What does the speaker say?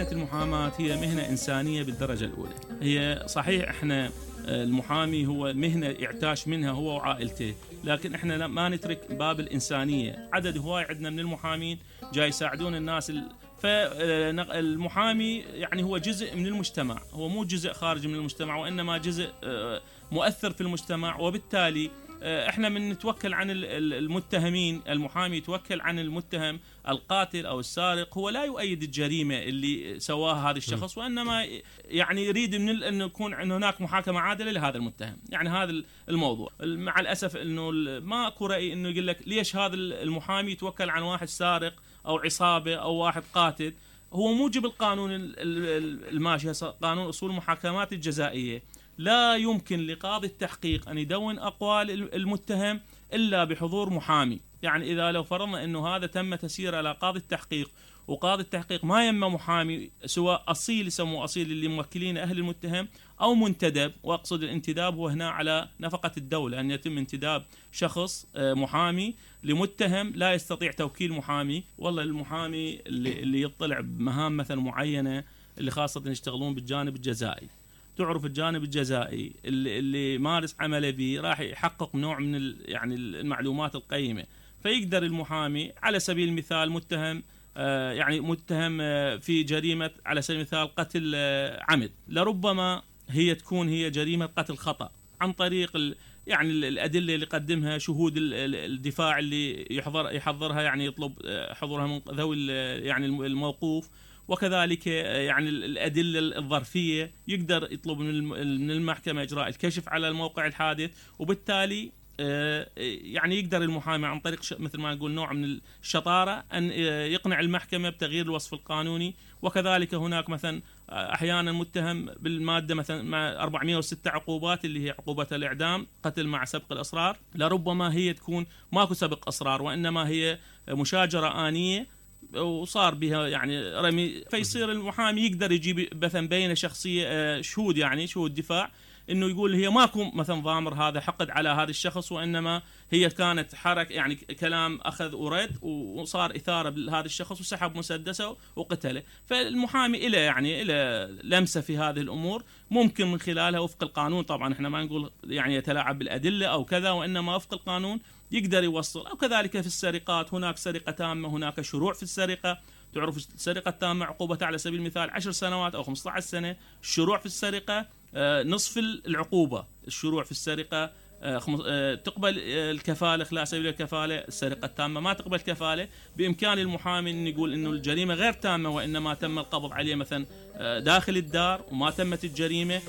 مهنة المحاماة هي مهنة إنسانية بالدرجة الأولى. هي صحيح إحنا المحامي هو مهنة يعتاش منها هو وعائلته، لكن إحنا ما نترك باب الإنسانية. عدد هواي عندنا من المحامين جاي يساعدون الناس فالمحامي يعني هو جزء من المجتمع، هو مو جزء خارج من المجتمع، وإنما جزء مؤثر في المجتمع. وبالتالي احنا من نتوكل عن المتهمين، المحامي يتوكل عن المتهم القاتل او السارق، هو لا يؤيد الجريمه اللي سواها هذا الشخص، وانما يعني يريد من انه يكون هناك محاكمه عادله لهذا المتهم. يعني هذا الموضوع. مع الاسف انه ما اكو راي انه يقول لك ليش هذا المحامي يتوكل عن واحد سارق او عصابه او واحد قاتل. هو موجب القانون الماشي، قانون اصول المحاكمات الجزائيه، لا يمكن لقاضي التحقيق أن يدون أقوال المتهم إلا بحضور محامي. يعني إذا لو فرضنا أنه هذا تم تسيير على قاضي التحقيق، وقاضي التحقيق ما يما محامي، سواء أصيل يسموه أصيل اللي موكلين أهل المتهم، أو منتدب، وأقصد الانتداب هو هنا على نفقة الدولة، أن يتم انتداب شخص محامي لمتهم لا يستطيع توكيل محامي. والله المحامي اللي يطلع بمهام مثلا معينة، اللي خاصة يشتغلون بالجانب الجزائي، تعرف الجانب الجزائي اللي مارس عمله به راح يحقق نوع من يعني المعلومات القيمة. فيقدر المحامي على سبيل المثال متهم يعني متهم في جريمة على سبيل المثال قتل عمد، لربما هي تكون هي جريمة قتل خطأ، عن طريق يعني الأدلة اللي قدمها شهود الدفاع اللي يحضرها، يعني يطلب حضورها من ذوي يعني الموقوف، وكذلك يعني الأدلة الظرفية يقدر يطلب من المحكمة إجراء الكشف على الموقع الحادث. وبالتالي يعني يقدر المحامي عن طريق مثل ما نقول نوع من الشطارة أن يقنع المحكمة بتغيير الوصف القانوني. وكذلك هناك مثلا أحيانا متهم بالمادة مثلا مع 406 عقوبات اللي هي عقوبة الإعدام، قتل مع سبق الأصرار، لربما هي تكون ماكو سبق أصرار، وإنما هي مشاجرة آنية وصار بها يعني رمي. فيصير المحامي يقدر يجيب مثلا بين شخصية شهود، يعني شهود دفاع، انه يقول هي ماكو مثلا ضامر هذا حقد على هذا الشخص، وانما هي كانت حركه يعني كلام اخذ ورد، وصار اثاره لهذا الشخص وسحب مسدسه وقتله. فالمحامي له يعني له لمسه في هذه الامور، ممكن من خلالها وفق القانون، طبعا احنا ما نقول يعني يتلاعب بالادله او كذا، وانما وفق القانون يقدر يوصل. او كذلك في السرقات، هناك سرقه تامه، هناك شروع في السرقه. تعرف السرقه التامه عقوبتها على سبيل المثال 10 سنوات او 15 سنه. الشروع في السرقه نصف العقوبة. الشروع في السرقة تقبل الكفالة خلال سبيل الكفالة، السرقة التامة ما تقبل كفالة. بإمكان المحامي أن يقول إنه الجريمة غير تامة، وإنما تم القبض عليه مثلا داخل الدار وما تمت الجريمة،